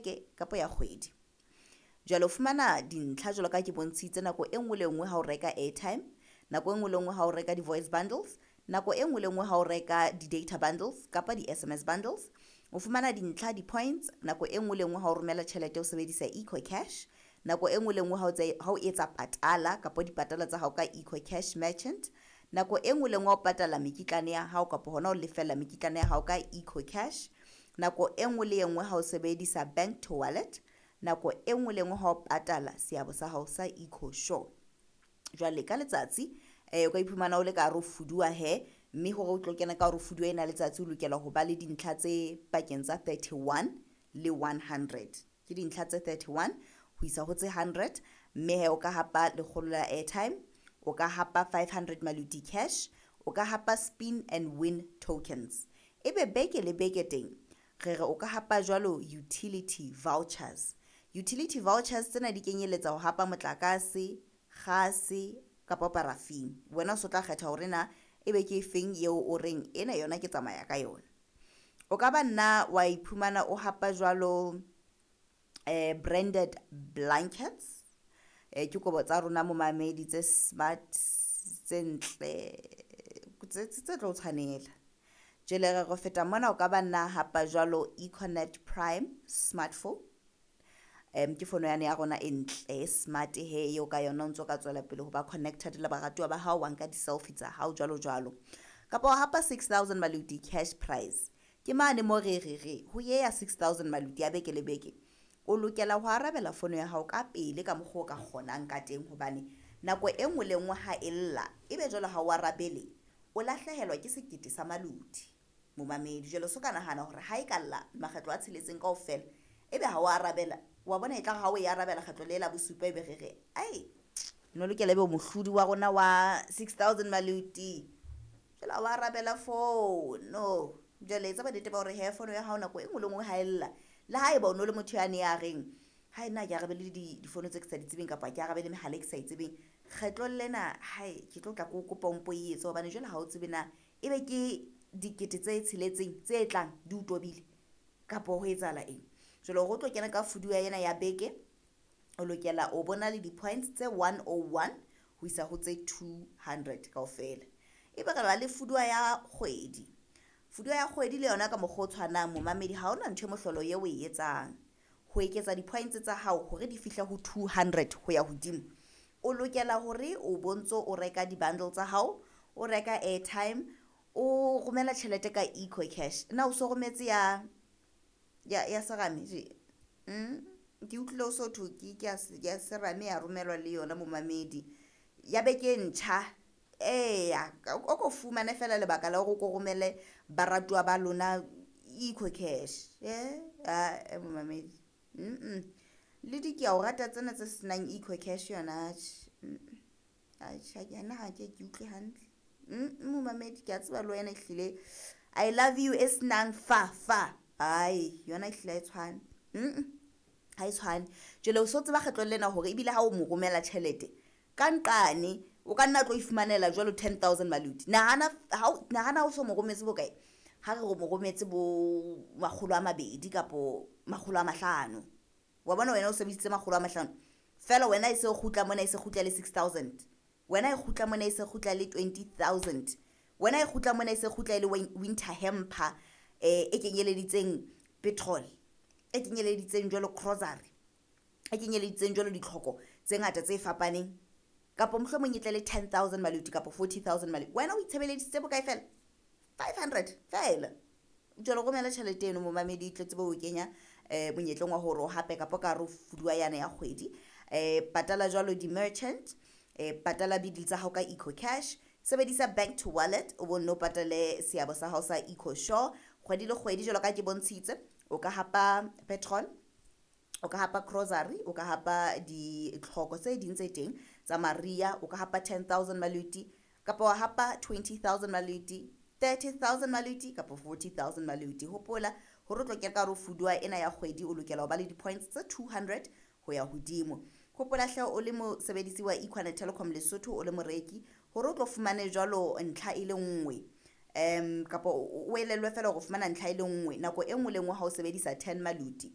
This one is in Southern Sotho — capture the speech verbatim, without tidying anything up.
beke kapa ya kgwedi. Jwale o fumana dintlha jwalo ka ke bontshitse nako e nngwe le nngwe ha o reka airtime, nako e nngwe le nngwe ha o reka di-voice bundles, nako e nngwe le nngwe ha o reka di-data bundles kapa di-S M S bundles. O fumana dintlha di-points nako e nngwe le nngwe ha o romela tjhelete o sebedisa EcoCash, nako e nngwe le nngwe ha o etsa patala kapa dipatala tsa hao ka EcoCash merchant, nako e nngwe le nngwe ha o patala mekitlane ya hao kapa hona ho lefella mekitlane ya hao ka EcoCash, nako e nngwe le e nngwe ha o sebedisa bank to wallet, nako e nngwe le nngwe ha o patala seabo sa hao sa EcoSure. Jwale ka letsatsi eh o ka iphumana o le ka hare ho fuduwa he, mme hore o tlo kena ka hare ho fuduwa ena letsatsi o lokela ho ba le dintlha tse pakeng tsa thirty-one le one hundred. Ke dintlha tse thirty-one ho isa ho tse hundred, mme he o ka hapa lekgolo la airtime, o ka hapa five hundred maluti cash, o ka hapa spin and win tokens. Ebe beke le beke teng re re o ka hapa jwalo utility vouchers. Utility vouchers tsena di kenyeletsa ho hapa motlakase, kgase kapa paraffin. Wena o so tla kgetha hore na ebe ke efeng eo o reng ena yona ke tsamaya ka yona. O ka ba nna wa iphumana o hapa jwalo eh branded blankets, eh ke kobo tsa rona momamedi tse smart, tse ntle, tse tse tlo tshwanela. Jwale re go feta mona o ka ba nna hapa jwalo Econet Prime smartphone. Um ke fono yane ya rona e ntle smart he eo ka yona o ntso ka tswela pele ho ba connected le baratuwa ba hao, wa nka di-selfie tsa hao jwalo jwalo. Kapa wa hapa six thousand maluti cash prize. Ke mane mo re re re ho ye ya six thousand maluti ya beke le beke, o lokela ho arabela fono ya hao ka pele ka mokgwa o ka kgonang ka teng, hobane nako e nngwe le nngwe ha e lla ebe jwale ha o arabele, o lahlehelwa ke sekete sa maluti momamedi. Jwale so ka nahana hore ha e ka lla makgetlo a tsheletseng kaofela ebe ha o arabela, wa bona e tla ha o e arabela kgetlo le la bosupa ebe re re ai no lokela ebe mohlodi wa rona wa six thousand maluti, jwale ha o arabela fono. Jwale etsa bonnete ba hore he fono ya hao nako e nngwe le nngwe ha e lla, le haeba o no le motho yane ya reng ha nna ke arabele difono tse ke sa di tsebeng kapa ke arabele mehala e ke sa e tsebeng, kgetlong lena hae ke tlo tla ke o kopa o mpo e etse, hobane jwale ha o tsebe na ebe ke dikete tse tsheletseng tse tlang di o tobile kapa ho etsahala eng. Jwale hore o tlo kena ka fuduwa ena ya beke, o lokela o bona le di-points tse one oh one ho isa ho tse two hundred kaofela. Ebe re ba le fuduwa ya kgwedi. Fuduwa ya kgwedi le yona ka mokgwa o tshwanang momamedi, ha hona ntho e mohlolo eo o e etsang ho eketsa di-points tsa hao hore di fihle ho two hundred ho ya hodimo. O lokela hore o bontso o reka di-bundle tsa hao, o reka airtime, o romela tjhelete ka EcoCash. Na o so rometse ya ya ya serame je? Mm ke utlwile o so thwe ke ke ya serame ya romelwa le yona momamedi ya beke e ntjha. Eya, o ko fumane fela lebaka la hore o ko romele baratuwa ba lona EcoCash. Eh a momamedi, mm le di ke a o rata tsena tse senang EcoCash yona atjhe. Atjhe nna ha ke ke utlwe hantle. Mm momamedi ke a tseba le wena ehlile I love you e senang fa fa, ai yona ehlile ha e tshwane. Mm ha e tshwane. Jwale o so tseba kgetlong lena hore ebile ha o mo romela tjhelete ka nqane o ka nna tlo ifumanela jwalo ten thousand maluti. Nahana ha nahana o so mo rometse bokae, ha re re mo rometse bo makgolo a mabedi kapo makgolo a mahlano, wa bona wena o sebedisitse makgolo a mahlano fela, wena e se kgutla mona e se kgutla le six thousand, wena e kgutla mona e se kgutla le twenty thousand, wena e kgutla mona e se kgutla le winter hamper eh e kenyeleditseng petrol, e kenyeleditseng jwalo grocery, e kenyeleditseng jwalo ditlhoko tse ngata tse fapaneng, kapa mohlomong e tle le ten thousand maluti kapa forty thousand maluti. Wena o itshebeleditse bokae fela? five hundred fela. Jwale romela tjhelete eno momamedi, tle tsebe ho kenya eh monyetleng wa hore o hape kapa ka hare ho fuduwa yana ya kgwedi. Eh patala jwalo di-merchant, eh patala bidil tsa hao ka EcoCash, sebedisa bank to wallet o bo nno patale seabo sa hao sa EcoSure kgwedi le kgwedi. Jwalo ka ke bontshitse, o ka hapa petrol, o ka hapa grocery, o ka hapa ditlhoko tse ding tse teng tsa maria, o ka hapa ten thousand maluti kapa wa hapa twenty thousand maluti, thirty thousand maluti kapa forty thousand maluti. Hopola hore o tlo kena ka hare ho fuduwa ena ya kgwedi, o lokela ho ba le di-points tse two hundred ho ya hodimo. Hopola hle o le mosebedisi wa Econet Telecom Lesotho, o le moreki, hore o tlo fumane jwalo ntlha e le nngwe um kapa o elellwe fela hore o fumana ntlha e le nngwe nako e nngwe le nngwe ha o sebedisa ten maluti.